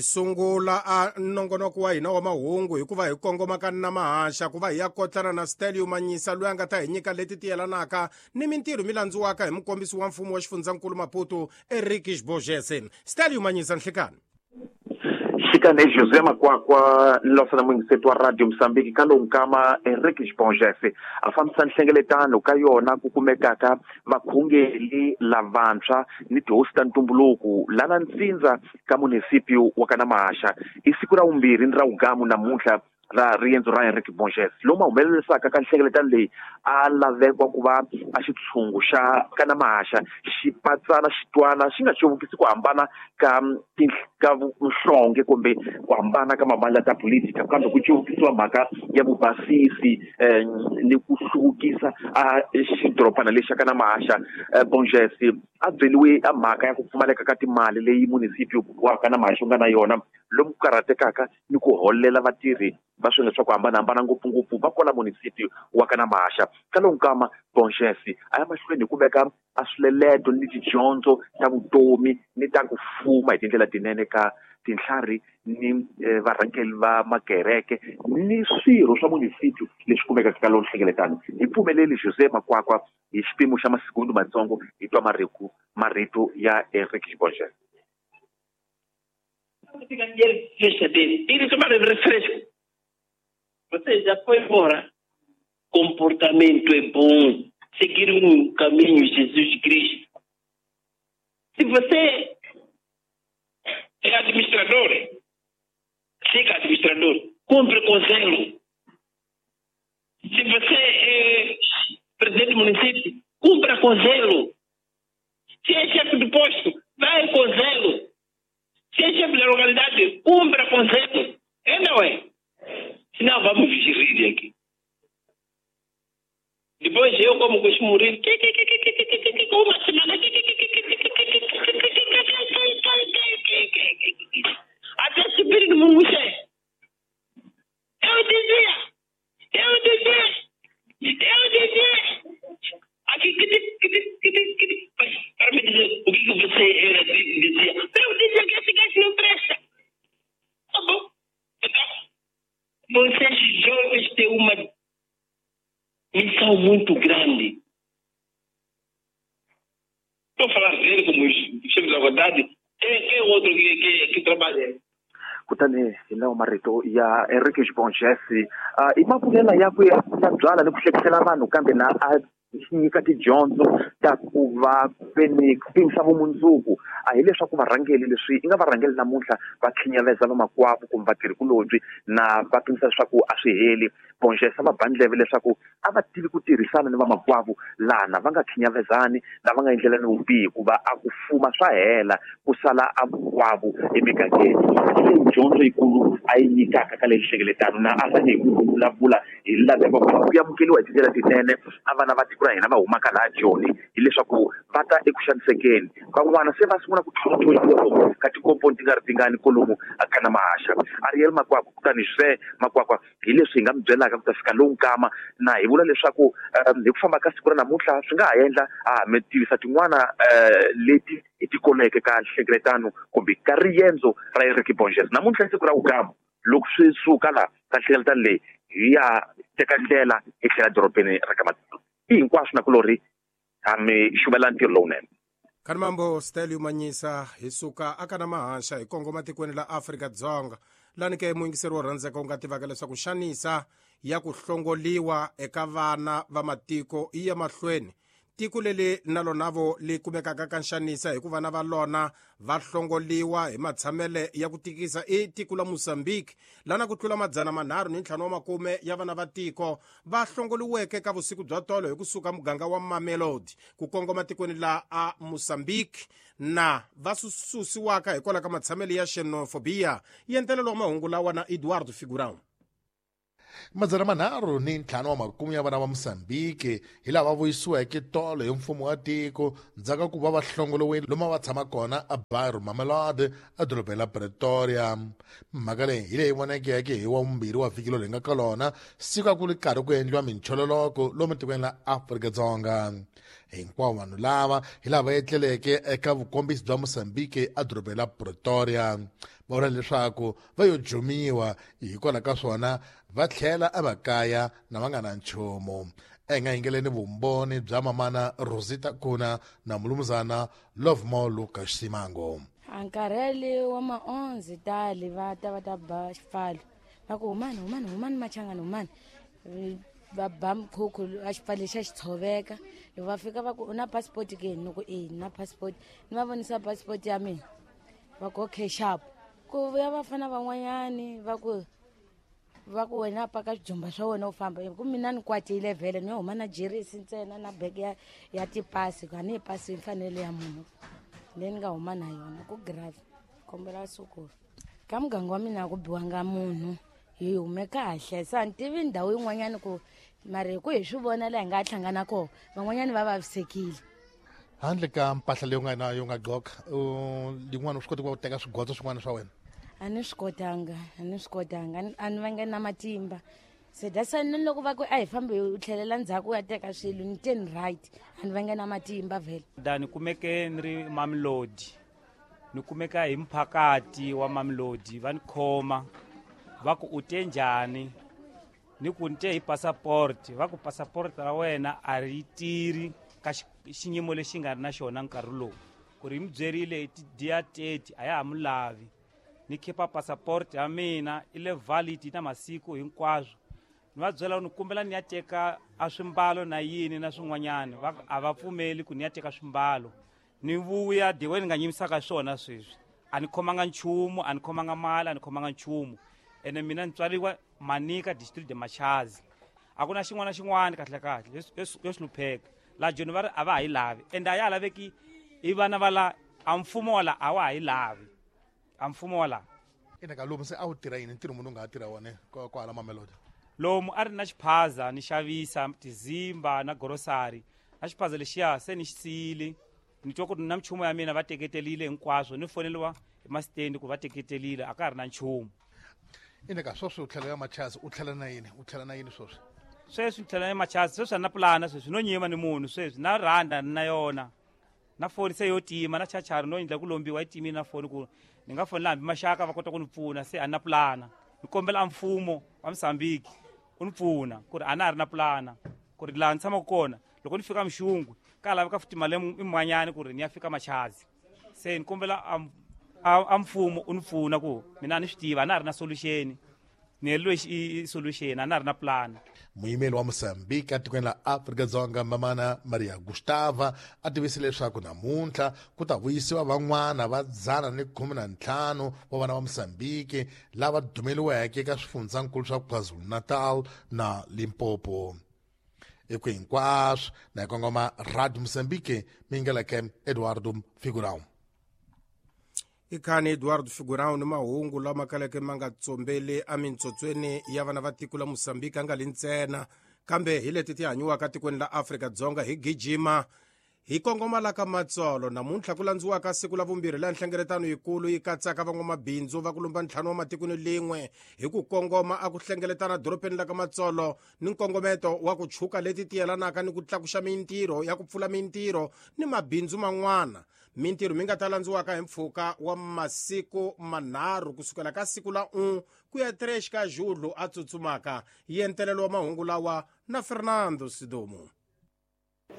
Sungula a nongonoko wa hina wa mahungu hikuva hi kongoma ka Namahaxa ku va hi ya kotlana na Stelio Manyisa loyi a nga ta hi nyika leti ti yelanaka ni mintirho mi landziwaka hi mukombisi wa mfumo wa xifundzankulu Maputo Eric Bogese. Stelio Manyisa, nhlikani. Xikane José Makwakwa nlosana muyingiseti wa Radio Mozambique ka lowu nkama Enrique Bongese a fambisa nhlengeletano ka yona ku kumekaka vakhongeli lavantshwa ni tihosi ta ntumbuluko lana ntsindza ka munisipio wa Kanamahaxa i siku ra vumbirhi ni ra vugamu namuntlha ra riendzo ra Enrique Borges lomu a humelerisaka ka nhlengeletano leyi a lavekwa ku va a xitshungu xa Kanamahaxa xi patsana xi twana xi nga covukisi ku hambana ka ka nhlonge kumbe ku hambana ka mavandla ta politika kambe ku covukisiwa mhaka ya vubasisi ni ku hluvukisa a xidorobana lexi xa Kanamahaxa. Borges a byeliwe a mhaka ya ku pfumaleka ka timali leyi munisipio wa Kanamahaxa wu nga na yona lomu ku karhatekaka ni ku holela vatirhi va swilo swa ku hambanahambana ngopfungopfu va kwala munisipio wa Kanamahaxa. Ka lowu nkama Borges a ya mahlweni hi ku veka a swileleto ni tidyondzo ta vutomi ni ta ku fuma hi tindlela tinene ka tintlhari ni varhangeri va makereke ni swirho swa munisipio leswi kumekaka ka lowu nhlengeletano. Hi pfumeleli José Makwakwa hi xipimo xa masikundu matsongo hi twa marito ya Enrique Borges. Você já foi embora. Comportamento é bom. Seguir um caminho, Jesus Cristo. Se você é administrador, siga administrador, cumpre com zelo. Se você é presidente do município, cumpra com zelo. Se é chefe do posto, vai com zelo. Se é chefe da localidade, cumpra com zelo. É, não é? Senão vamos rir aqui. Depois eu, como costumo rir, uma semana, até subir no Mumuxé. Eu dizia, aqui, mas para me dizer o que você dizia, eu dizia que esse gajo não presta. Tá bom. Então, vocês jovens têm uma missão muito grande. Estou a falar dele como os chefes da vontade. Quem é o outro que trabalha? Kutani hi lawa marito ya Enrique Borges i mavulela yakwe ya byala ni ku hlekisela vanhu kambe na a nyika tidyondzo ta ku va veni pimisa vumundzuku a hileswaku varhangeli leswi i nga varhangeli namuntlha va khinyaveza vamakwavo kumbe vatirhikulobyi na va pimisa leswaku a swi heli. Borges a va ba ndleve leswaku a va tivi ku tirhisana ni vamakwavo lana va nga khinyavezani na va nga endlelani vubihi hikuva a ku fuma swa hela ku sala a vukwavo emigangeni. Hi leyi dyondzo yikulu a yi nyikaka ka leyi nhlengeletano na a rhange hi ku vulavula hi laveko ku amukeriwa hi tindlela tinene a vana va tiko ra hina va humaka laha Joni hileswaku va ta eku xanisekeni van'wana se va sungula ku tlhontlhoniwa ka tikomponi ti nga ri tingani kolomu Kanamahaxa. Ariel Makwakwa kutani José Makwakwa hi leswi hi nga mi byelaka ku ta fika lowu nkama na hi vula leswaku hi ku famba ka siku ra namuntlha swi nga ha endla a mi tivisa tin'wana leti hi ti koleke ka nhlengeletano kumbe ka riendzo ra Enrique Borges. Namuntlha i siku ra vugamu loko swi suka laha ka nhlengeletano leyi hi ya teka ndlela hi tlhela dorobeni ra ka Matimba. I hinkwaswo na kulorhi ha mi xuvela ntirho lowunene. Khanimambo Stelio Manyisa hi suka aka na mahaxa hi kongoma tikweni la Afrika-Dzonga lani ke muyingiseri wo rhandzeka u nga tivaka leswaku xanisa ya ku hlongoliwa eka vana va matiko yi ya mahlweni. Tiko leri na lonavo li kumekaka ka nxanisa hikuva vana va lona va hlongoliwa hi matshamele ya ku tikisa i tiko la Mozambique lana ku tlula 350 ya vana va tiko va hlongoliweke ka vusiku bya tolo hi kusuka muganga wa Mamelodi ku kongoma tikweni la a Mozambique na va susiwaka hikwalaho ka matshamele ya xenophobia. Yentelelo wa mahungu lawa na Eduardo Figurão. 350 ya vana va Mozambique hi lava vuyisiweke tolo hi mfumo wa tiko ndzhaku ka ku va va hlongoliwile lomu va tshama kona a Bairro Mamelodi edorobeni la Pretoria. Mhaka leyi hi leyi vonekeke hi wa vumbirhi wa vhiki lowu hi nga ka lona siku a ku ri karhi ku endliwa minchololoko lomu tikweni la Afrika-Dzonga. Hinkwavo vanhu lava hi lava etleleke eka vukombisi bya Mozambique edorobeni la Pretoria. Va vula leswaku va yo jumiwa, hikwalaho ka swona va tlhela emakaya na va nga na nchumu. Hi nga yingeleni vumbhoni bya mamana Rosita Kuna na mulumuzana Lovemore Lucas Simango. A nkarhi wa ma-11 tali va ta va ta ba xipfalo, va ku humani, humani, humani machangani, humani. Va ba mkhukhu a xipfalo xa xi tshoveka. Loko va fika va ku u na passport ke? Ni ku e, ni na passport. Ni va vonisa passport ya mina, va ku okay sharp. Ku vuya vafana van'wanyani va ku wena paka swijumba swa wena u famba. Ku mina ni kwatile vhele, ni yo huma na jeresi ntsena na bege ya tipasi, ku a ni yi pasi mfanelo ya munhu leyi ni nga huma na yona. Ku grave, kombela sukulu ka muganga wa mina a ku biwanga munhu, hi hume kahle. Se a ni tivi ndhawu yin'wanyani ku mara hi ku hi swi vona laha hi nga hlangana kona, van'wanyani va vavisekile. Handle ka mpahla leyi u nga na yo nga gqoka, yin'wana u swi koti ku va u teka swigotso swin'wana swa wena? A ni swi kotanga, a ni swi kotanga, a ni vange na matimba. Se that's why ni loko va ku a hi fambi u tlhelela ndzhaku u ya teka swilo, ni te ni right, a ni vange na matimba vhele. Da ni kumeke ni ri Mamelodi, ni kumeka hi mphakati wa Mamelodi. Va ni khoma, va ku u te njhani? Ni ku ni te hi passport. Va ku passport ra wena a ri tirhi ka xiyimo lexi nga ri na xona nkarhi lowu, ku ri mi byerile hi ti-dia 30 a ya ha mu lavi. Ni khipa passport ya mina, i le valid na masiku hinkwaswo. Ni va byela ni kombela ni ya teka a swimbalo na yini na swin'wanyani, va a va pfumeli ku ni ya teka swimbalo. Ni vuya the way ni nga nyimisaka swona sweswi, a ni khomanga nchumu, a ni khomanga mali, a ni khomanga nchumu. Ene mina ni tswariwa Manika, district de Machazi. A ku na xin'wana na xin'wana kahle kahle yo hlupheka laha Joni. Va ri a va ha yi lavi, ende a ya ha laveki i vana va la a mfumo wa la, a wa ha yi lavi a mfumo wa la. Ina ka lomu se a wu tirha yini? Ntirho munhu u nga ha tirha wona kwahala Mamelodi? Lomu a ri na xiphaza, ni xavisa tizimba na grocery. Na xiphaza lexiya se ni xi siyile. Ni twa ku ri na minchumu ya mina va teketelile hinkwaswo. Ni foneliwa hi masitendi ku va teketelile, a ka ha ri na nchumu. Ina ka sweswi u tlhela ya Machazi, u tlhela na yini? U tlhela na yini sweswi? Sweswi ni tlhela ya Machazi. Sweswi a ni na pulana, sweswi no nyima ni munhu. Sweswi na rhanda ni na yona, na foni se yo tima, na chachari no endla ku lombiwa yi timile na foni, ku ni nga fonela hambi maxaka va kota ku ni pfuna. Se a ni na pulana. Ni kombela a mfumo wa Mozambique u ni pfuna, ku ri a na ha ri na pulana, ku ri laha ni tshamaka kona loko ni fika Mxungwe ka laveka futhi mali imanyani ku ri ni ya fika Machazi. Se ni kombela a mfumo u ni pfuna, ku mina a ni swi tiva, a na ha ri na solution, ni heleliwe i solution, a na ha ri na plan. Muyimeli wa Mozambique etikweni la Afrika-Dzonga, mamana Maria Gustava, a tivise leswaku namuntlha ku ta vuyisiwa van'wana va 115 wa vana va Mozambique lava dumeliweke eka swifundzankulu swa KwaZulu-Natal na Limpopo. Eku hinkwaswo na hi kongoma Radio Mozambique, mingeleke Eduardo Figurão. I khani Eduardo Figurão ni mahungu lama kaleke ma nga tsombeli emintsotsweni ya vana va tiko la Mosambiki a nga li ntsena, kambe hi leti ti hanyiwaka tikweni la Afrika-Dzonga. Hi gijima hi kongoma la ka Matsolo. Namuntlha ku landziwaka siku la vumbirhi la nhlengeletano yikulu yi katsaka van'wamabindzu va ku lumba ntlhanu wa matikweni lin'we hi ku kongoma a ku hlengeletana dorobeni la ka Matsolo, ni nkongometo wa ku chuka leti ti yelanaka ni ku tlakuxa mintirho ya ku pfula mintirho ni mabindzu man'wana. Mintirho mi nga ta landziwaka hi mpfhuka wa masiku manharhu, kusukela ka siku la 1 ku ya 3 ka Julho a tsutsumaka. Yentelelo wa mahungu lawa na Fernando Sidomu.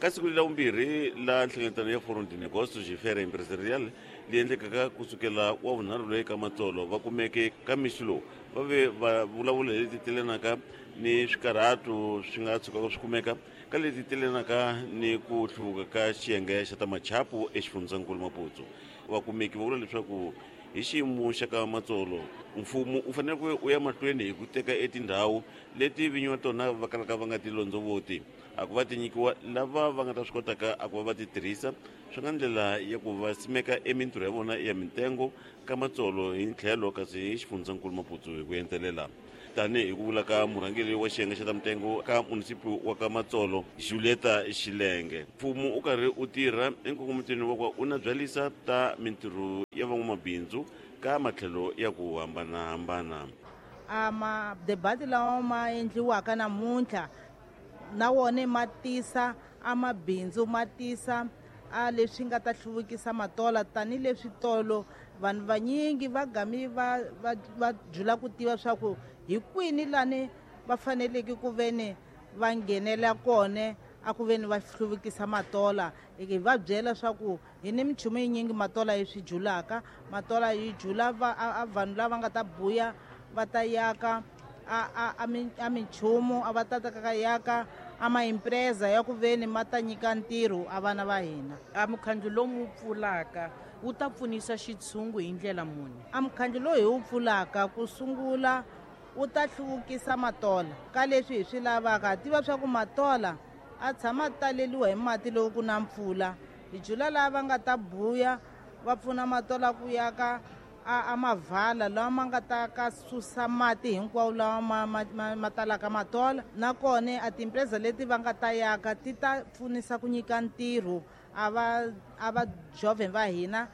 Ka siku la vumbirhi la nhlengeletano ya Forum de Negócios e Feira Empresarial leyi endlekaka kusukela wa vunharhu loyi ka Matsolo, va kumeke ka mixo lowu va ve va vulavula hi leti telenaka ni swikarhato swi nga tshukaka swi kumeka ka leti telenaka ni ku hluvuka ka xiyenge xa ta machapu exifundzankulu Maputo. Vakumeki va vula leswaku hi xiyimo xa ka Matsolo, mfumo u fanele ku u ya mahlweni hi ku teka etindhawu leti vinyi va tona va kalaka va nga ti londzovoti, a ku va ti nyikiwa lava va nga ta swi kotaka a ku va va ti tirhisa swi nga ndlela ya ku va simeka emintirho ya vona ya mitengo ka Matsolo hi tlhelo, kasi hi xifundzankulu Maputo hi ku entelela. Tanihi ku vula ka murhangeri wa xiyenge xa ta mitengo ka munisipi wa ka Matsolo, Julieta Xilenge, mfumo u karhi u tirha enkongometweni wa ku u na byalisa ta mintirho ya van'wamabindzu ka matlhelo ya ku hambanahambana. A madebati lawa ma endliwaka namuntlha na wona ma tisa a mabindzu ma tisa a leswi nga ta hluvukisa Matola tanihileswi tolo vanhu vanyingi va gami va jula ku tiva swa ku hi kwini lani va faneleke ku veni va nghenela kona a ku veni va hluvukisa Matola. Hi va byela swa ku hi ni minchumu yinyingi Matola yi swi julaka. Matola yi jula a vanhu lava nga ta buya va ta yaka a minchumu a va ta ta yaka a maimpreza ya ku veni ma ta nyika ntirho a vana va hina. A mukhandlu lowu pfulaka wu ta pfunisa xitshungu hi ndlela muni? A mukhandlu lowu hi wu pfulaka ku sungula wu ta hluvukisa Matola ka leswi hi swi lavaka. Ha tiva swa ku Matola a tshama taleliwa hi mati loko ku na mpfula. Hi jula lava nga ta buya va pfuna Matola ku yaka a mavala lawa ma nga ta ka susa mati hinkwawo lawa ma talaka Matola. Nakona a tiimpreza leti va nga ta yaka ti ta pfunisa ku nyika ntirho a va jovhen va hina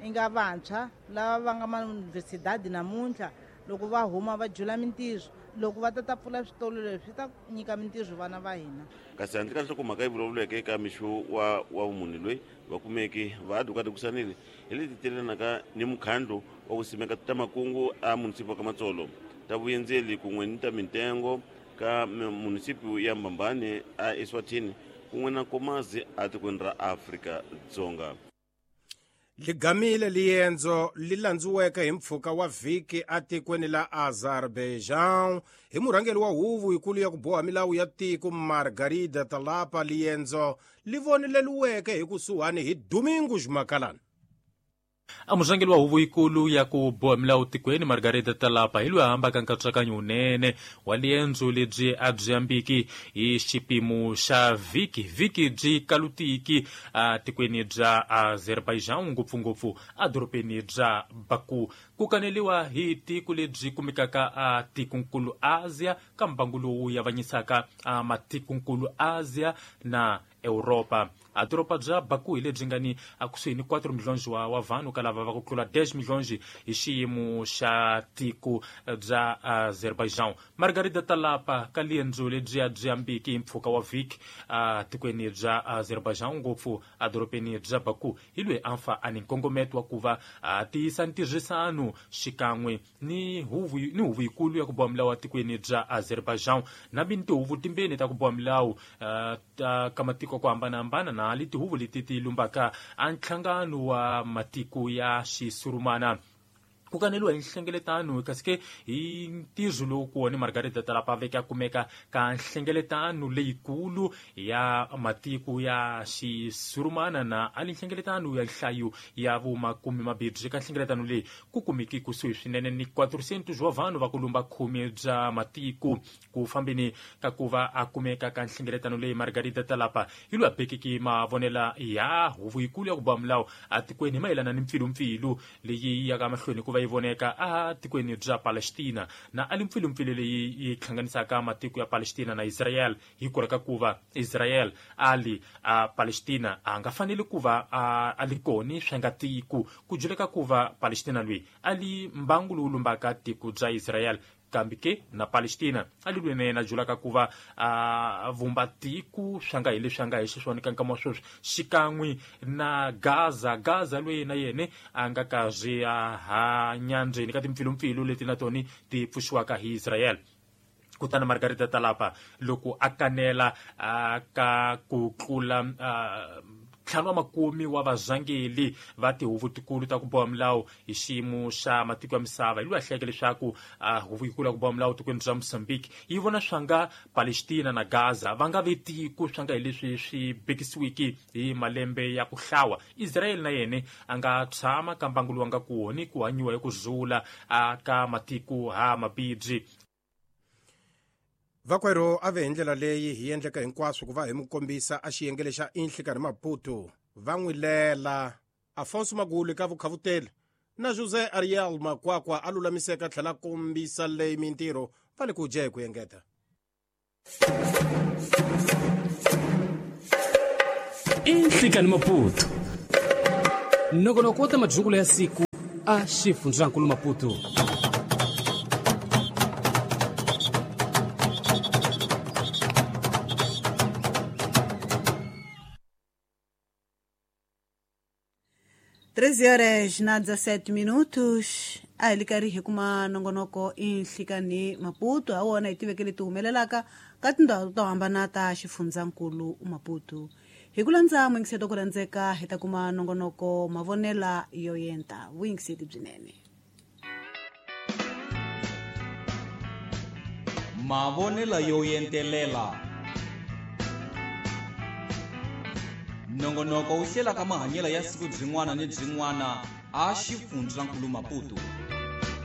i nga vantshwa lava va nga mayunivhesidadi namuntlha. Loko va huma va jula mintirho, loko va ta pfula switolo leswi swi ta nyika mintirho vana va hina. Kasi handle ka nhlokomhaka yi vulavuleke eka mixo wa vumune loyi va kumeke va adukadikusanile hi leti telanaka ni mukhandlu wa ku simeka ta makungu a munisipi ka Matsolo, ta vuyendzeli kun'we ni ta mintengo ka munisipi ya Mbambane a Eswatini kun'we na Nkomazi a tikweni ra Afrika-Dzonga. Ligamile liendzo li landziweke hi mpfhuka wa vhiki atikweni la Azerbaijan hi murhangeri wa huvo yikulu ya ku boha milawu ya tiko Margarida Talapa. Liendzo li voneleliweke hi kusuhani hi Domingos Makalana. A murhangeri wa huvo yikulu ya ku boha milawu tikweni Margarida Talapa hi loyi a hambaka nkatsakanyo wunene wa liendzo lebyi a byi ambiki hi xipimo xa vhiki vhiki byi kalutiki a tikweni bya Azerbaijan, ngopfungopfu edorobeni bya Baku. Ku kaneliwa hi tiko lebyi kumekaka a tikonkulu Asia ka mbangu lowu yavanyisaka a matikonkulu Asia na Europa. A doroba bya Baku hi lebyi nga ni akusuhi ni 4 milhões wa vanhu ka lava va ku tlula 10 milhões hi xiyimo xa tiko bya Azerbaijan. Margarida Talapa ka liendzo lebyi a byi ambiki hi mpfhuka wa vhiki a tikweni bya Azerbaijan, ngopfu edorobeni bya Baku, hi loyi a fa a ni nkongometo wa ku va a tiyisa ntirhisano xikan'we ni huvo yikulu ya ku boha milawu etikweni bya Azerbaijan na bini tihuvo timbirhi ta ku boha milawu ta ka matiko ku hambanahambana na leti huvo leti ti lumbaka a nhlangano wa matiko ya xisurumana. Ku kaneliwa hi nhlengeletano kasi ke hi ntirho lowu kona Margarida Talapa veke a kumeka ka nhlengeletano leyikulu ya matiko ya xisurumana na ali nhlengeletano ya nhlayo ya vumakume mabirhi. Ka nhlengeletano leyi ku kumeki kusuhi swinene ni 400 wa vanhu va ku lumba khume bya matiko. Ku fambeni ka ku va a kumeka ka nhlengeletano leyi Margarida Talapa hi loyi a bekeke mavonela ya huvo yikulu ya ku boha milawu atikweni hi mayelana ni mpfilumpfilu leyi yaka mahlweni ku va yi voneka a tikweni bya Palestina na ali mpfilumpfilu leyi yi hlanganisaka matiko ya Palestina na Israel. Hi ku ka ku va Israel ali a Palestina a nga faneli ku va a li koni swi nga tiko ku juleka ku va Palestina loyi ali mbangu lowu lumbaka tiko bya Israel, kambe ke na Palestina a li lwene na julaka ku va a vumba tiko swi nga hi leswi nga hi xiswona ka nkama wa sweswi xikan'we na Gaza. Gaza loyi na yena a nga karhi a hanya ndzeni ka timpfilumpfilu leti na tona ti pfuxiwaka hi Israel. Kutani Margarida Talapa loko a kanela ka ku tlula ntlhanu wa makume wa vazangeli va tihuvo tikulu ta ku boha milawu hi xiyimo xa matiko ya misava, hi loyi a hlayeke leswaku huvo yikulu ya ku boha milawu tikweni bya Mozambique yi vona swa nga Palestina na Gaza va nga ve tiko swa nga hi leswi swi bekisiwiki hi malembe ya ku hlawa. Israel na yena a nga tshama ka mbangu lowu nga kona ku hanyiwa hi ku zula ka matiko ha mabibyi. Vakwerhu a ve hi ndlela leyi hi endleka hinkwaswo ku va hi mu kombisa a xiyengele xa Inhlikanhi Maputo. Va n'wi lela Afonso Magulu ka vukhavuteli na José Ariel Makwakwa a lulamiseka tlhela kombisa leyi mintirho va le ku dya hi ku engeta. Inhlikanhi Maputo, nongonoko wa ta madyukulo ya siku a xifundzankulu Maputo. 13 horas na 17 minutos. A hi li karhi hi kuma nongonoko i Nhlikani Maputo, ha wona hi tiveke leti humelelaka ka tindhawu to hambana ta xifundzankulu Maputo. Hi ku landza muyingiseti ku rhandzeka, hi ta kuma nongonoko Mavonela yo Yenta. Vuyingiseti byinene. Mavonela yo yentelela, nongonoko wu hlelaka mahanyelo ya siku byin'wana ni byin'wana a xifundzankulu Maputo.